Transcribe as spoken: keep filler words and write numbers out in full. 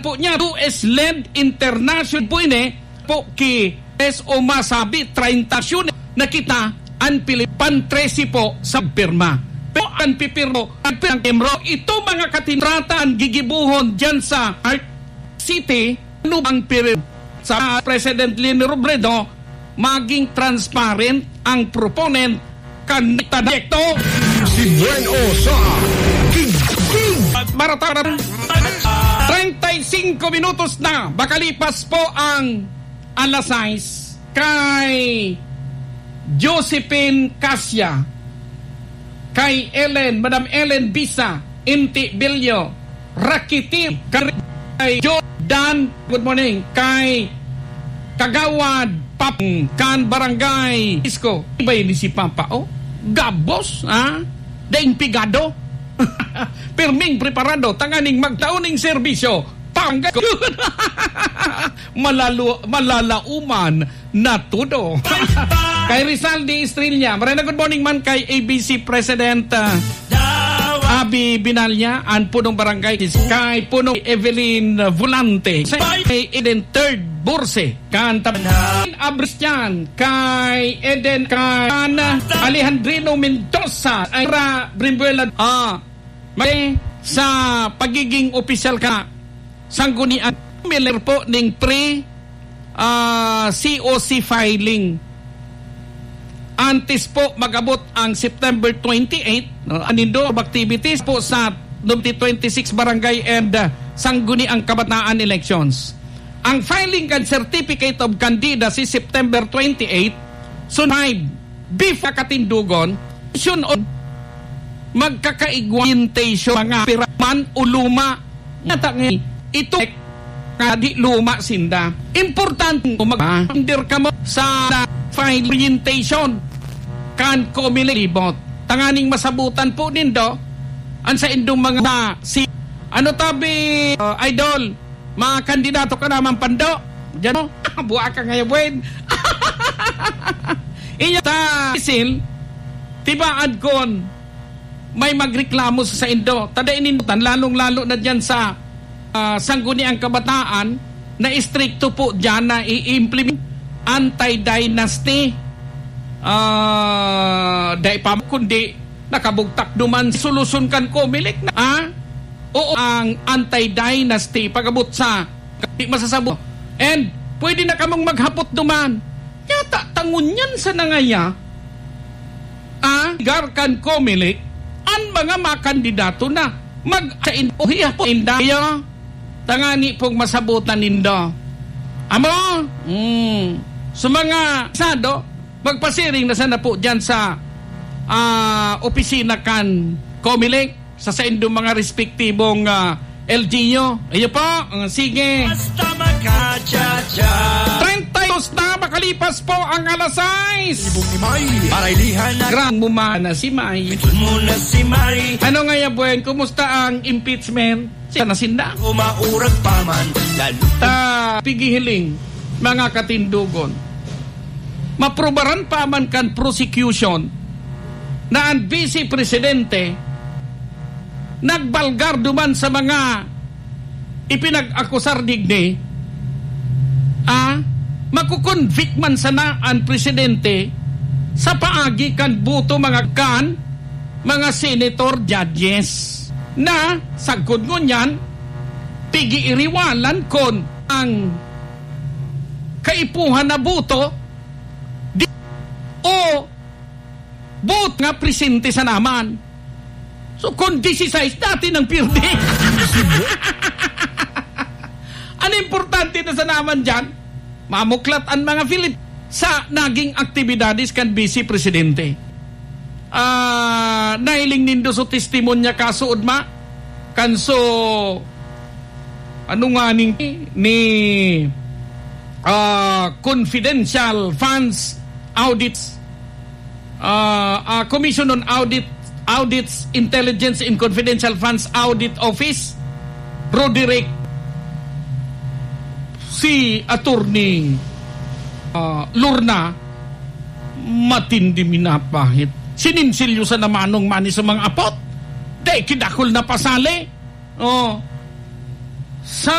po niya, U S-led international po ini po ki es o masabi, treinta siyudad na kita an Pilipan, trese po sa pirma. Pero ang pipirmo, ang pirang timro, ito mga katinrata ang gigibuhon dyan sa Art City, ano bang pir-, sa President Leni Robredo, maging transparent ang proponent kan direkto. Si Buen O sa King King. Barata, treinta y cinco minutos na makalipas po ang alas sais kay Josephine Cassia, kay Ellen, Madam Ellen Bisa, Inti Bilyo, Rakiti, kay Jordan, good morning, kay Kagawad Papang kan Barangay Isko. Iba ni si Papa, oh. Gabos, ha? Daing pigado. Pirming preparado, tanganing magtao ning serbisyo. Pangga-, malalo-, malalauman na todo. Kay Rizal de Estrella, maray na good morning man kay A B C President, ah, Abi Binalya, an punong barangay, kay punong Evelyn Volante, kay Eden Third Borse, kan Tab-, Abristian, kay Eden, kan Alejandrino Mendoza, ay Ra Brimbuela, ah, may sa pagiging opisyal ka, sanggunian, familiar po ning pre, ah, C O C filing. Antes po mag-abot ang September twenty-eight, no, anindo of activities po sa twenty twenty-six barangay and, ah, sangguniang kabataan elections. Ang filing kan Certificate of Candidacy September twenty-eight, so five, before katindugon, syon o magkakaigwa orientation, mga pira man o luma. Nata nga, ito nga di luma sinda. Importante mo mag-, under ka mo sa file orientation kan Comelec libot. Tanganing masabutan po nindo, ang sa indong mga si, ano tabi, uh, idol, mga kandidato ka naman pando. Diyan mo, buha ka ngayon, buen. Inyo ta, Sil, tibaan kon may magreklamo sa saindo. Tada inindutan, lalong-lalo na diyan sa, ah, sangguniang kabataan na istrikto po diyan na i-implement anti-dynasty. Ah, dai pa kundi nakabugtak duman solusyon kan Comelec na, ah? Oo, ang anti-dynasty pag-abot sa di masasabo. And pwede na kamong maghapot duman. Yata, tangon yan sa nangaya. Ah, gar kan Comelec, an mga makandidato na mag-, sa in-, o hiya po, inda, iyo. Tangani pong masabutan nindo. Amo? Mm. So, mga sado, magpasiring na sana po dyan sa, ah, opisina kan Comelec, sa saindong mga respektibong, ah, L G U. Iyo po, ah, sige. Basta makachacha. Treinta y dos na makalipas po ang alas sais. Ibong ni May, parailihan na. Grang mo man na si May. Ito mo na si May. Ano nga yan, Buen? Kumusta ang impeachment? Siya na sinda. Umaurag pa man, lalo. Ta, pigihiling, mga katindugon. Maprubaran pa man kan prosecution na ang Vice Presidente nagbalgar duman sa mga ipinag-akusar digdi, ah, makukonvict man sana ang presidente sa paagi kan boto mga kan mga senator, judges, na sagkod ngunyan, pig-iiriwalan kon ang kaipuhan na boto di, o boto nga presente sa naman. So, kung disisais, dati nang pirdi. Ang importante na sa naman dyan, mamuklat ang mga Filip sa naging aktibidades kan Vice Presidente. Ah, nahiling nindo so testimonya kaso, Udma? Kan so, ano nga ning, ni, ah, confidential funds audits, ah, ah, Commission on Audit, Audits, Intelligence and Confidential Funds Audit Office, Roderick, si Attorney, ah, Lorna, matindi minapahit. Sininsilyo sa namanong mani sa mga apot. Dai kidakol na pasali. Oh. Sa